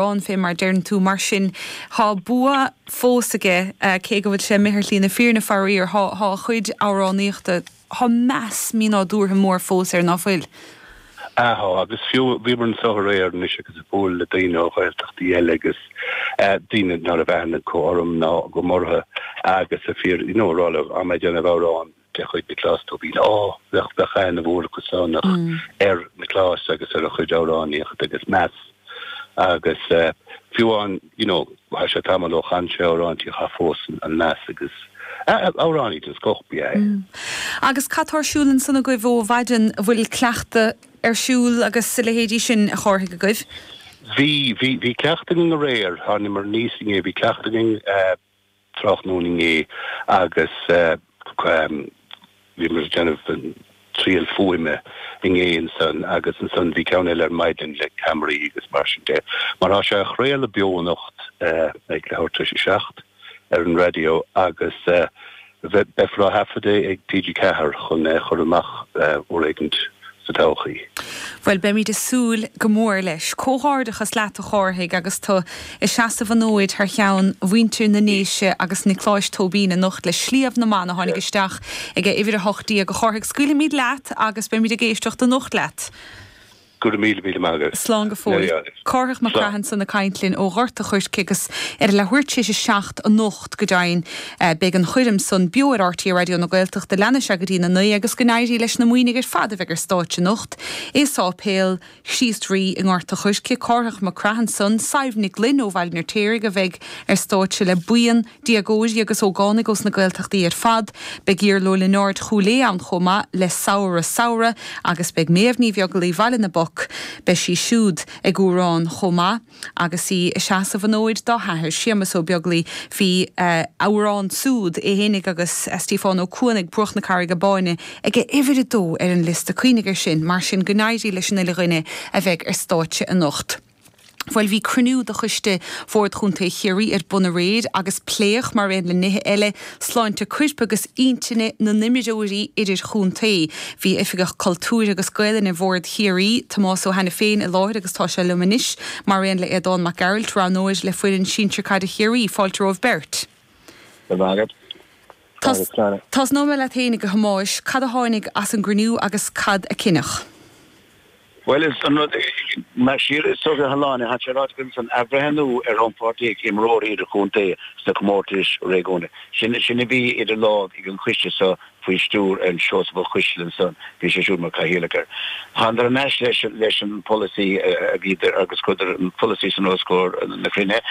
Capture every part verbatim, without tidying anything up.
amhrán fé mar deireann tú mar sin tá bua fós aige cé go bhfuil sé imithe ar shlí na fírinne faraor tá a chuid amhránaíochta tá meas mínádúrtha mór fós air nach bhfuil. Aha agus fiú bhíomar anseo aréir anois agus ag bualadh le daoine ó Ghaeltachtaí eile agus daoine ná raibh aithne acu orm ná go mórtha agus a fíor you know rá le am déanamh amhrán de chuid Nioclás Tóibín á bheadh bheadh aithne mhór acu san ar Nioclás agus ar a chuid amhránaíocht agus meas agus uh, fiú an you know tá sé tamall ó chan sé amhrán tá fós an meas agus amhránaí den scoth ab ea é. Mm. Agus cad tá ar siúl ansan agaibh ó mhaidin bhfuil cleachtadh ar siúl agus a leithéidí sin a Chárthaigh agaibh? Bhí bhí bhí cleachtadh againn aréir thánamar aníos inné bhí cleachtadh againn uh, tráthnóna inné agus uh, um, bhí mar déanamh triail fuaime inné ansan agus ansan bhí ceann eile ar maidin le ceamaraí agus mar sin de. Mar tá sé á chraoladh beo anocht uh, ag leathuair tar éis a seacht ar an raidió agus uh, beifear á thaifeadadh ag TG Ceathair chun uh, chur amach uh, uair éigin sa todhchaí. Well beimid ag súil go mór leis. Comhghairdeachas leat a Chárthaigh agus tú ag seasamh an fhóid thar cheann mhuintir na nDéise agus Nioclás Tóibín anocht le Sliabh na mBan a tháinig isteach ag uimhir a hocht déag a Chárthaigh scaoilfimid leat agus beimid ag éisteacht anocht leat. Go míle míle maith. Slán go fóill. Cárthach Mac Craith ansan ag caint linn ó Ghort an Choirce agus ar leathuair tar éis a seacht anocht go deimhin beidh an choirm san beo ar RTÉ Raidió na Gaeltachta leanfaidh sé go dtí a naoi agus go n-éirí leis na buíonta ar fad a bheidh ar stáitse anocht. I Séipéal Chríost Rí i nGort an Choirce Cárthach Mac Craith ansan Sadhbh Nic Gloinn ó Bhaile an Fheirtéaraigh a bheidh ar stáitse le buíon déagóirí agus ógánaigh ós na Gaeltachtaí ar fad, Beidh Iarla Ó Lionáird Chúil Aodha ann chomh maith le Samhradh Samhradh agus beidh Méabh Ní Bheaglaoich Bhaile na Poc Beidh sí siúd ag amhrán chomh maith agus í ag seasamh an fhóid dá hathair Séamus Ó Beaglaoich bhí uh, amhrán súd é fhéinig agus Stiofán Ó Cuanaigh Bruach na Carraige Báine ag uimhir a dó ar an liosta cuimhnigh air sin mar sin go n-éirí leis an uile dhuine a bheidh ar stáitse anocht. Bhuel bhí cruinniú de choiste Bhord Chontae Chiarraí ar bun aréir agus pléadh mar aon le nithe eile sláinte coirp agus intinne na n-imreoirí idirchontae. Bhí oifigeach cultúir agus Gaelainne Bhord Chiarraí Tomás Ó hAiniféin i láthair agus tá sé liom anois mar aon le Aodán Mac Gearailt roghnóir le foireann sinsir caide Chiarraí fáilte romhaibh beirt. Tosnóidh mé leat féin a Thomáis, cad a tháinig as an gcruinniú agus cad a cinneadh. Well is an rud mar siar is so haláine hat sé rá san athbhreithniú ar rannpháirtíocht imreoirí idirchontae sna comórtais réigiúnda. Sin sin a bhí idir lámh ag an choiste so faoi stiúir an Seosamh Ó Coisdealbha san bhí sé siúd mar chathaoirleach air. Thánadar anois leis leis an polasaí a bhí agus chuireadar an polasaí san os comhair na cruinnithe.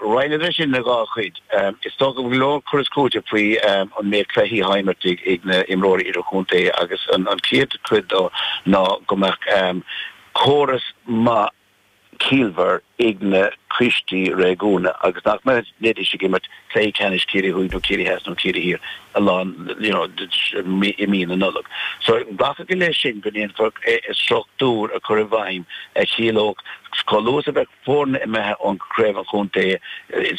Roinneadar sin ina dhá chuid. Is dócha go leor cur is cúiteamh faoi an méid cluichí atá imeartha ag na imreoirí idirchontae agus an an chéad chuid dó ná go mbeadh córas maith ciallmhar ag na coistí réigiúnda agus nach mbeidís ag imirt cluiche ceannais Ciarraí Thuaidh nó Ciarraí Theas nó Ciarraí Thiar a lán you know, i mí na Nollag. So glacadh leis sin go ndéanfar struchtúr a chur i bhfeidhm a chiallódh chomh luath a bheadh foirne imithe ón chraobh an chontae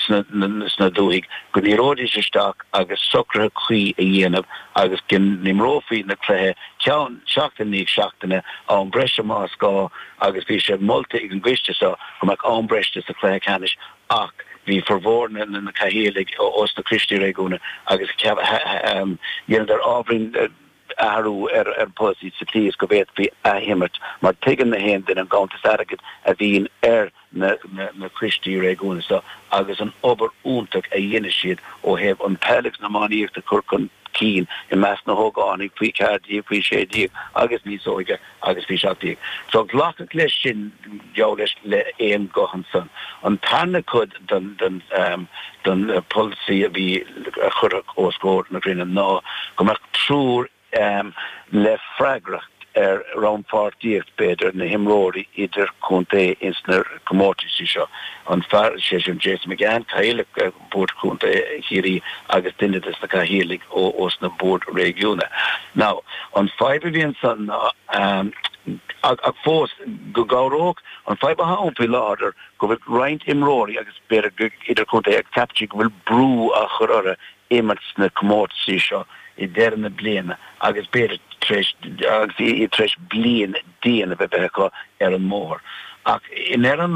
sna dúthaigh go ndíreoidís isteach agus socruithe cuí a dhéanamh agus go n-imreofaí na cluichí ceann seachtain i ndiaidh seachtaine am breise más gá agus bhí sé molta ag an gcoiste seo go mbeadh am breise sa chluiche ceannais ach bhí formhór na na cathaoirligh ós na coistí réigiúnda agus dhéanadar ábhairín athrú ar ar polasaí sa tslí is go bhféadfaí athimirt mar tuigeann na haon duine an ganntanas airgid a bhíonn ar na na na coistí réigiúnda so agus an obair iontach a dhéanann siad ó thaobh an peil agus na iománaíocht a chur chun cinn i measc na hógánaigh faoi ceathair déag faoi sé déag agus níos óige agus faoi seacht déag. So glacadh leis sin geall leis le aon ghuth ansan. An tarna cuid den den um, den uh, polasaí a bhí a cuireadh os comhair na cruinnithe ná go mbeadh triúr um, le freagracht ar rannpháirtíocht b'fhéidir na himreoirí idirchontae ins na comórtaisí seo. An fear sé sin Jason McGann cathaoirleach Bhord Chontae Chiarraí agus duine des na cathaoirligh ó ós na boird réigiúnda. Now an fadhb a bhí ansan ná um, ach, ach fós go gabhródh an fadhb atá ann faoi láthair go bhfuil roinnt imreoirí agus b'fhéidir idirchontae ag ceapadh go bhfuil brú á chur orthu imirt sna comórtaisí seo i deireadh na bliana agus b'fhéidir tar éis agus tar éis bliain dian a bheith acu ar an mbóthar. Ach in ar an